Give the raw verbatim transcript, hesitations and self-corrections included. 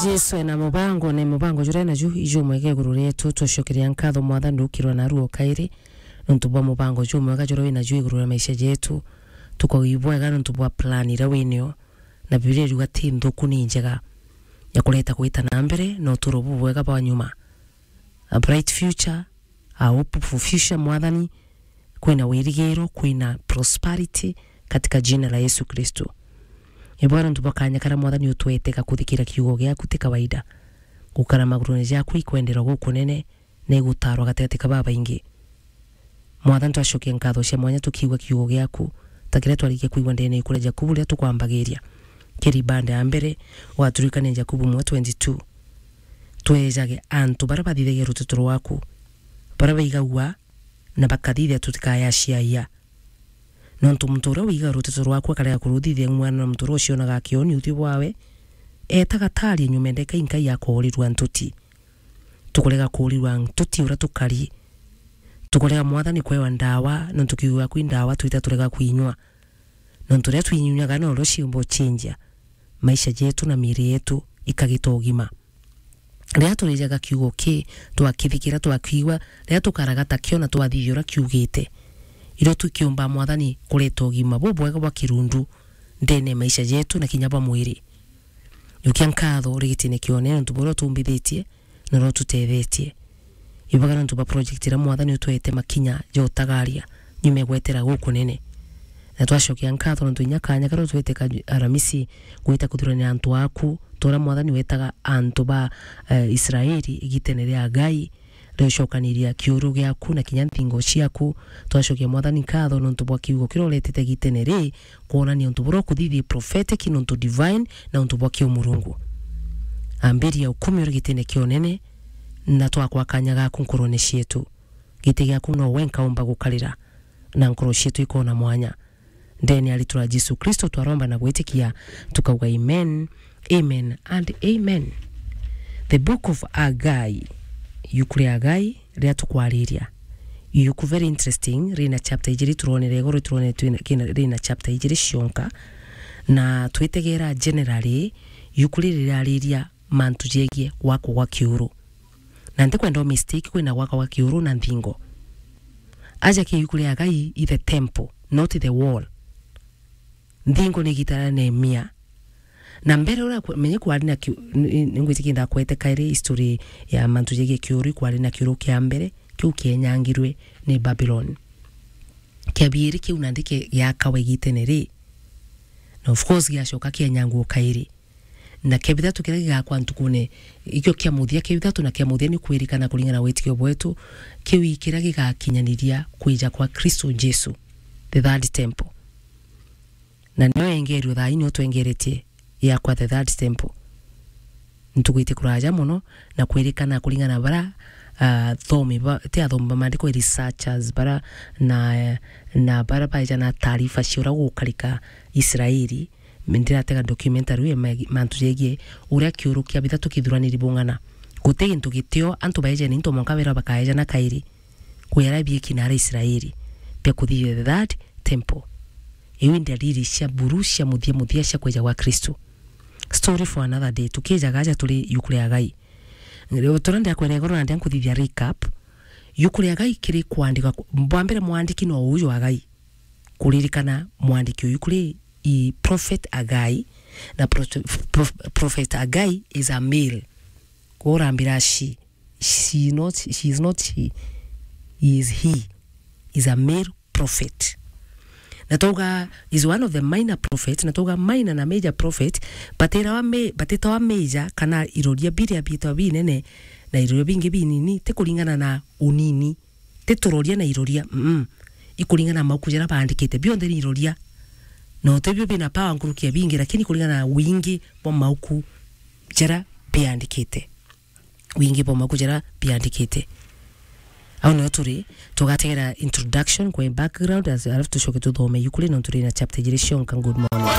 Jesu ena mubango, na mubango juria naju ijumwega iguru rietu. Tucokeria nkatho Mwathani ukirwa naru o kairi, nontu bwa mubango jumwega juria wina ju iguru ria maisha jetu. Tukauga ibwega nontu bwa plan iria winio, na Biblia iriuga ti nthuku ni njega, ya kureta gwita na mbere na uturo bubwega bwa nyuma. A bright future, a hopeful future, Mwathani, kwina wirigiro, kwina prosperity katika jina la Yesu Kristo. Ibwega nontu bwa kanya karia Mwathani utwete ga kuthikira kiugo giaku ti kawaida. Gukara magurune jaku ikwendera gukunene, na igutarwa gatigati ka babaingi. Mwathani, twacokia nkatho cia mwanya tukiigua kiugo giaku, ta kiria twarikia kwigua ndene ya ikuria Jakubu riria tukwambagiria. Kiri bande ya mbere, waturikania Jakubu imwe twenty-two. Twejage antu baria bathithagia ruteto rwaku, baria baigagua na bakathithia tutikayaciaia. Nontu muntu uria wigaga ruteto rwaku akarega kuruthithia ng'wana na muntu uria ucionaga akioni uthiu bwawe, eetaga taari nyuma ndeka inkai akoorirua ntuti. Tukurega kuurirua ntuti uria tukari. Tukurega Mwathani kwewa ndawa, nontu kiugo giaku i ndawa twita turega kwinyua. Nontu riria twinyunyaga norio ciumba ucinjia maisha jetu na miiri yetu ikagita ugima. Riria turijaga kiugo ki, twakithikira, twakiigua, riria tukaragata kio na twathithia uria kiugite, irio tukiumba Mwathani kureta ugima bubwega bwa kirundu ndene ya maisha jetu na kinya bwa mwiri. Njukia nkatho uri gitine kia unene nontu buria utumbithitie na uria ututethetie. Ibwega nontu bwa project iria Mwathani utwete makinya ja utagaria nyuma ya gwetera gukunene. Na twacokia nkatho nontu inya kanya karia utwete ka Aramisi gwita kuthurania antu aku, ta uria Mwathani wetaga antu ba, eh, Israeli igitene ria Agai, riocokaniria kiuru giaku na kinya nthingo ciaku. Twacokia Mwathani nkatho nontu bwa kiugo kiria uretete gitene ri, kwonania untu buria ukuthithia prophetic, nontu divine, na untu bwa kiumurungu. Ambiria ukumi uri gitine kia unene, na twakwa kanya gaku nkurone cietu. Giti giaku no wenka umba gukarira, na nkoro cietu ikona mwanya. Ndene ya ritwa ria Jesu Kristo twaromba na gwitikia, tukauga amen, amen and amen. The Book of Agai, iuku ria Agai, riria tukwariria. Iuku very interesting, rina chapter ijiri, turonere igoro, turonere twina, kina, rina chapter ijiri cionka. Na twitegera generally, iuku riri rirariria mantu jegie gwakwa gwa kiuru. Na ntikwenda u mistake kwina gwakwa gwa kiuru na nthingo. Aja ki iuku ria Agai i the temple, not the wall. Nthingo ni igita ria Nehemia. Na mbere uria kwe-, menye kwari na kiu-, ni-, ni-, ningwitikia ndakwete kairi history ya mantu jegie kiuru, kwari na kiuru kia mbere, kiu kienyangirwe ni Babylon. Kia biiri kiu nandi ki-, giakawa igitene ri. Na of course giacoka kienyangwo kairi. Na kia bithatu kiria gigakwa ntukune, ikio kia muthia, kia bithatu na kia muthia ni kwirikana kuringana na witikio bwetu, kiu i kiria gigakinyaniria kwija kwa Kristo Jesu, the third temple. Na nio engerio thaa ii nio twengeretie yakwa the third temple. Ntuku iti kuraja mono, na kwirikana kuringana na bara, ah, thomi ba, ti athomi ba maandiko, researchers bara, na, na bara baeja na taarifa cia uria gukarika Israeli, ndiratega documentary ya ma-, mantu jegie uria kiuru kia bithatu kithuraniri bung'ana. Guti gintu gitio, antu baejene into mwanka bera bakaejana kairi. Kwera biiki na ara Israeli bia kuthithia the third temple. Iu i ndariri cia buru cia muthia muthia cia kwija gwa Kristo. Story for another day. Tukijaga aja turi iuku ria Agai. Riu turia ndiakwira igoro na ndia nkuthithia recap. Iuku ria Agai kiri kwandika ku-, bwa mbere mwandiki no uju Agai. Kuririkana mwandiki uyu kuri i Prophet Agai, na pro-, pro-, Prophet Agai is a male. Kwou urambira she, she is not, she is not she, he is he. Is a male prophet. Na twauga is one of the minor prophet, na twauga minor na major prophet, batirawa ma-, batitawa major kana iroria biria biitwa binene na iroria bingi binini, ti kuringana na unini. Ti turoria na iroria, mm. Ikuringana na mauku jaria baandikite. Bionthe ni iroria. No tibio bina power nkuruki ya bingi, lakini kuringana na wingi bwa mauku jaria biandikite. Wingi bwa mauku jaria biandikite. Au nio turi, tugategera introduction kwe background, as-, alafu tucoke tuthome iuku ri, nontu rina chapter ijiri cionka. Good morning.